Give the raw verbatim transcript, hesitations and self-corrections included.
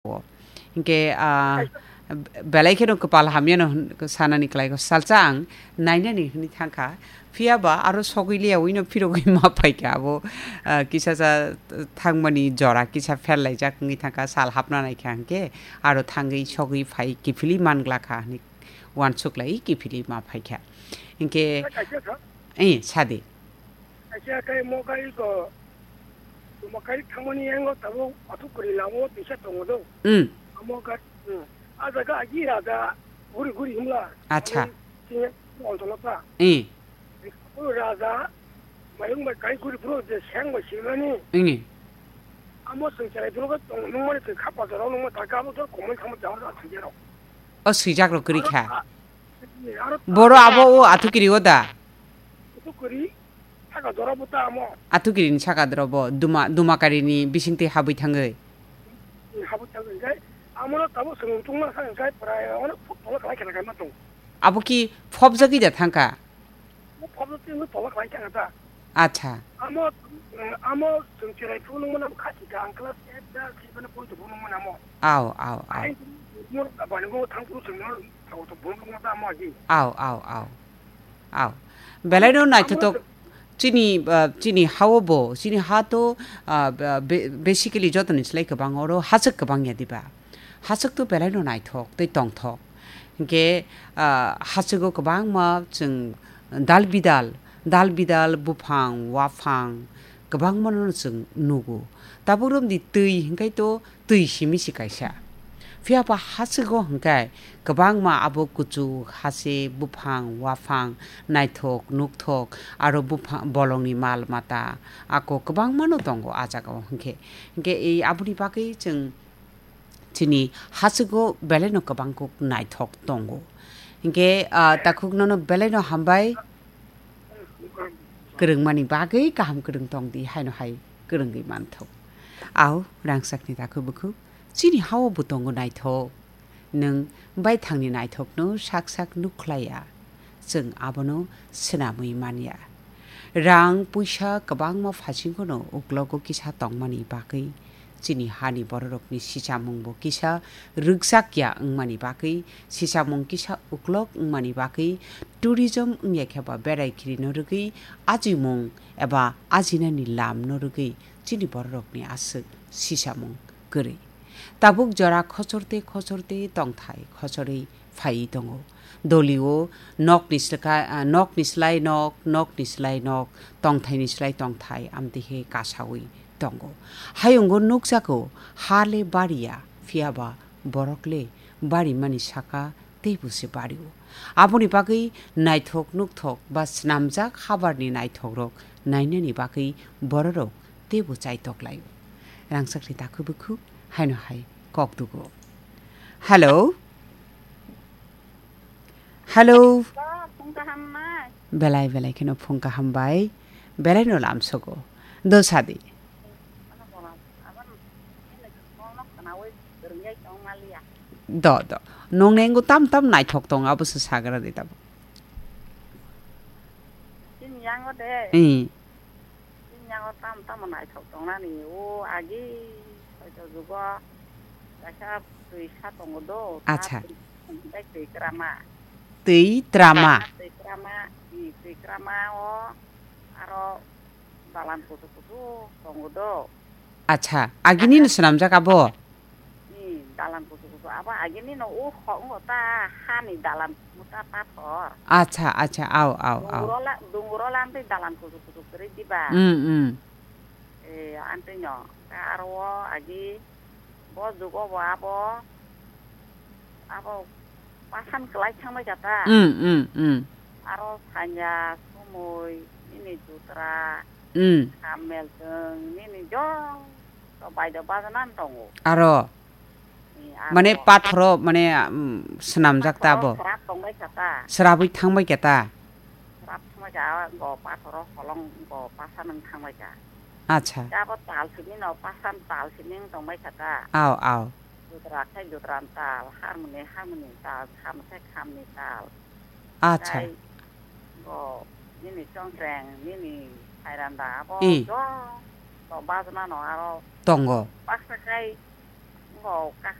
o. Hinkhe, ah, belai kheno kwpal hamyano hwn-, sanani kwlaikho. Salsa ang nainani hwnwi thangkha. Phiyaba aro sogwi liyawino phirogwi ma phaikha abo, ah, kisa sa thangmani jora kisa pherlaijak wngwi thangkha, sal hapna naikha hinkhe aro thangwi sogwi phai kiphilwi manglakha hwnwi uansuklai kiphilwi ma phaikha. Hinkhe, Kaisa kha? Eh, sadi. Kaisa khe mo gari ko, mo gari thangmani yango tabuk athuk kwrwi lama o tisa tongo do. Hmm. Amo gari, hmm. A jaga agi raja guri guri himla. Acha. Ani sini ontolo ta. Eh. O raja mayung bai kai guri bro je seng bai silani. Eh. Amo sing chai bro ko tong nung mani twi khapa jora nung ma ta ka mo jor komoi khamo jawar a thang jero. O swijak rok kwrwi kha. Aro ta, aro ta, Boro abo o athukiri o da? Athukiri, saka jora bo ta amo. Athukiri ni saka jora bo, Duma, Dumakarini bisingtwi habwi thangwi. Habwi thangwi, hinkhe amo no tamo swngchung ma sa, hinkhe prai ono phuk tola khlai khe na ma tong. Abo ki phobjagwi da thangkha? Mo phobjagwi tola khlai khe na ta. Acha. Amo, amo chwng cherai phunuk mano kha thika, ang class eight da six mano pori to phunuk mano amo. Aw, aw, aw. Ai, mo bani mo thang phuru chwng no thago to phunuk mano amo agi. Aw, aw, aw. Aw. Belai no naithotok chini, ah, chini hao bo, chini ha to, ah, ba-, be-, basically jotoni slai kwbang oro hachwk kwbang ya diba? Hachwk to belai no naithok tei tongthok. Hinkhe, ah, hachwgo kwbangma chwng dal bidal, dal bidal buphang, waphang kwbangma no chwng nugo. Tabuk romdi twi hinkhe to twi simi se kaisa. Phiya ba hachwgo hinkhe kwbangma abo kuchuk, hase, buphang, waphang, naithok, nukthok, aro buphang, bolongni mal mata, ako kwbangma no tongo a jagao hinkhe. Hinkhe ei aboni bagwi chwng chini hachwgo belai no kwbang kuk naithok tongo. Hinkhe, ah, takhuk nono belai no hambai kwrwngmani bagwi kaham kwrwng tongdi haino hai kwrwngwi manthok. Au, rangchakni takhuk bukhuk chini hao bo tongo naithok. Nwng baithangni naithokno sak sak nukhlaiya. Chwng abono swnamwi manya. Rang puisa kwbangma phaisingkhono uklogo kisa tongmani bagwi chini hani bororokni sichamungbo kisa rwkchakya wngmani bagwi, sichamung kisa uklok wngmani bagwi, tourism wngya khe ba berai khirino rwgwi, ajimung eba ajinani lamno rwgwi chini bororokni aswk sichamung kwrwi. Tabuk jora khochorte khochorte tongthai khochorwi phaiwi tongo. Dolio nokni slika-, ah, nokni slai nok, nokni slai nok, tongthaini slai tongthai, amtwi khe kasaui tongo. Hayungo nukjago, ha le bariya, phiya ba borok le barimani saka teibo se bario. Aboni bagwi naithok nukthok ba snamjak habarni naithokrok nainani bagwi bororok teibo chaitok laio. Rangchakni takhuk bukhuk haino hai kok dugo. Hello? Hello? Ba, phung kaham nai. Belai belai kheno phung kaham bai. Belai no lamsogo. Do sadi. Ano bola, aban, ini kono kanawi, berenggai tong malia. Do, do. Nong nengo tam tam naithok tong, abo se sagra de tabo. Chini yango de. Eh. Chini yango tam tam naithok tongnani. O agi, hoito jugo, kaisa twi sa tongo do. Acha. Twi, twi krama. Twi trama. Twi krama, i twi krama o, aro dalan kusu kusu tongo do. Acha, agini no swnamjak abo? Ni dalan kusu kusu abo agini no o kho-, ongo ta hani dalan kusu ta pathor. Acha, acha, au, au, au. Dungro la, dungro lamtwi dalan kusu kusu kwrwi diba. Mm, mm. Eh, antwi no. Ka aro o agi bo jugo bo abo, abo pasan kwlai thangbai kha ta. Mm, mm, mm. Aro sanya, sumui, nini jutra, Mm. Kamel chwng nini jok to baida bajana tongo. Aro? Ni aro Mane pathoro, mane, um, swnamjak ta pathoro bo? Srap tongbai kha ta. Srabwi thangbai kha ta? Srap thangbai kha, go pathoro holong go pasa nung thangbai kha. Acha. Abo tal sini no, pasan tal sini tongbai kha ta. Aw, aw. Jutra khai jutran tal, harmoni harmoni tal, kham khai khamni tal. Acha. Tei bo nini chongkreng, nini phairanda abo I. Jok to bajna no aro Tongo. Baksa khai Kok ka